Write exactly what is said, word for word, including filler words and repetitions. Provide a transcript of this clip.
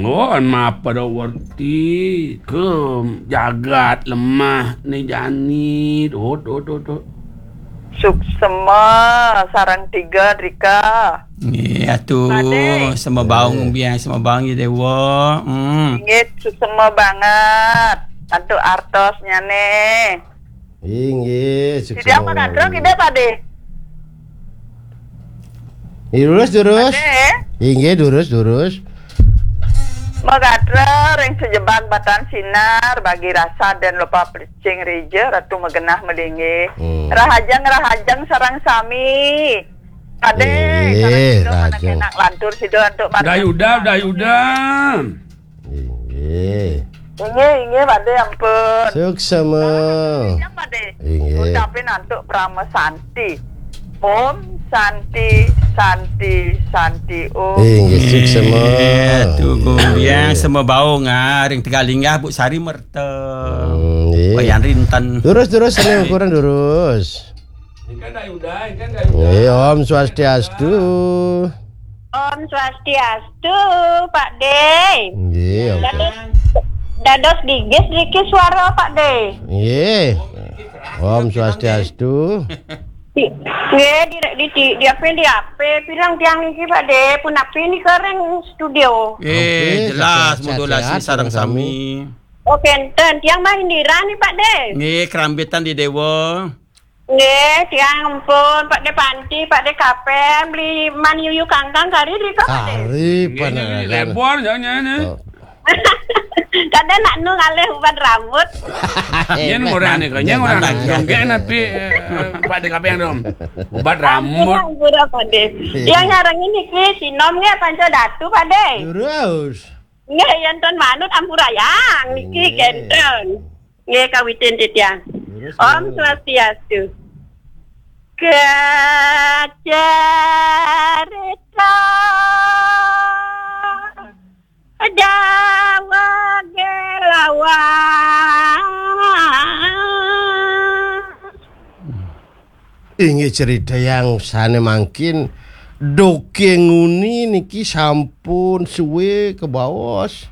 Oh, mapa da werti ke jagat lemah ni jani. Dot, dot, dot, dot. Suksema sareng tiga drika. Nggih, atuh. Pade. Sema baung, eh, biang, sema baung ya, Dewa. Hmm. Inggih, suksema banget. Antuk artosnya nih. Inggih, suksema. Tidak mengadro, tidak, Pade? Durus, durus. Pade. Inggih, durus, durus. Magadra ring sejebag batan sinar, bagi rasa dan lupa pelicing rija, Ratu magenah malinggih. Hmm. Rahajeng, rahajeng sareng sami. Pade, eh, sareng sida rahajeng. Anak lantur sida antuk. Udah, Yuda, udah, Yuda. Inggih. Inggih, inggih, Pade, ampun. Suksema. Rahajeng, Pade. Inggih. Ucapin antuk Parama Santi. Om Santi, Santi, Santi, Om. Inggih, suksema. Eh, tu kumbiang, eh, sema baung, ah, ring Tegalinggah, Bu Sari Merta. Hmm, nggih. Wayan Rinten. Durus, durus, sami ukuran durus. Ini kan dah Yuda, ini kan dah Yuda. Nggih, Om Swastiastu. Om Swastiastu, Pak De. Nggih, Om. Dados, dados gigis niki suara, Pak De. Nggih. Om Swastiastu. Di, nggih, di, di, di, di apa, di apa? Pirang tiang niki, Pak De, punapi nika ring studio? Eh, oke, jelas, sehat-sehat, modulasi sehat, sareng sami. Sami. Oh, kenten. Tiang Mahindira nih, Pak De. Nggih, kerambitan di Dewa. Nggih, tiang ampun, Pak De Panti, Pak De Kapen, beli man yuyu kangkang kari di kok, Pak De? Kari, nggih, nggih, panangan. Lebor, jangan, jangan, ya. Oh. Kadang nak nu ngalih ubat rambut. Yen orang ni, yen orang nak jongkek napi, eh, eh, Pak De Kapen dong. Ubat rambut. Ampun, ampun, Pak De. Iya. Yang nyarang ini ki, sinom nggih, Panca Datu, Pak De. Terus. Nggih, yen ton manut ampurayang niki. Nggih. Kenten. Nggih, kawitin titiang. Terus, Om terus. Swastiastu. Kacarita Jawa Gelawas. Inggih, cerita yang sane mangkin, dongeng nguni niki sampun suwe kebaos.